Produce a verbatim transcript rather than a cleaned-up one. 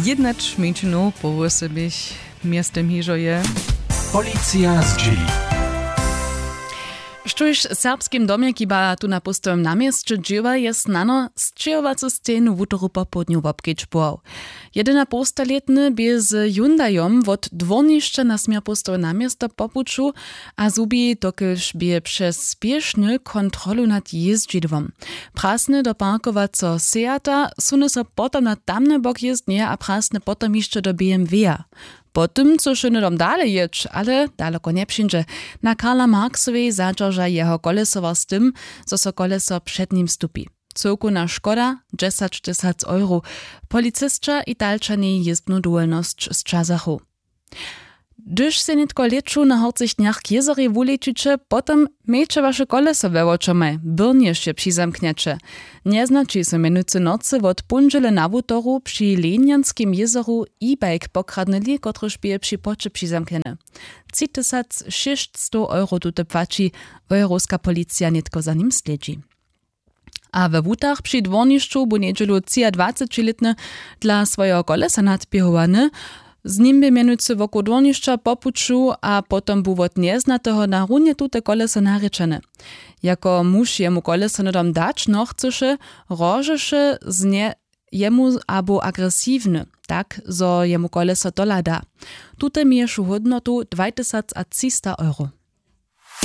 Jednać mjeńšinow po wósebich městym hižo je. Policija zdźěli. Štóž w serbskim domje kiba tu na póstowym na měsće dźěła, je snano sćěhowacu stejnu wutoru popołdnju wobkedźbował. Jedynapołstalětny bě z hyundajom wot dwórnišća na směr póstowe na město po puću a zhubi, dokelž bě přez spěšny kontrolu nad jězdźidłom. Prasny do parkowaceho seata, suny so potom na tamny bok jězdnje a prasny potom hišće do bmw-a. Po tym chcyše hnydom dale jěć, ale daloko njepřińdźe. Na karla marksowej zadźerža jeho kolesowa z tym, zo so koleso před nim stupi. Cyłkowna škoda dźesaćtysac euro. Policisća italčanej jězbnu dowolnosć sćazachu. Hdyž sej nětko lěću na horcych dnjach k jězorjej wulećiće, potom mějće waše koleso we wočomaj, byrnjež je přizamknjeće. Njeznaći so mjenujcy nocy wot póndźele na wutoru při lenjanskim jězoru e-bike pokradnyli, kotryž bě při płoće přizamknjeny. Tři tysac šěsćstow euro tute płaći. Wojerowska policija nětko za nim slědźi. A we wutach při dwórnišću bu njedźelu třiadwacećilětny dla swojeho kolesa nadběhowany. Z nim bě mjenujcy wokoł dwórnišća po puću a potom bu wot njeznateho na runje tute koleso narěčeny. Jako muž jemu koleso hnydom dać nochcyše, hrožeše z nje jemu abo agresiwny, tak zo jemu koleso tola da. Tute měješu hódnotu dwajtysacatřista euro.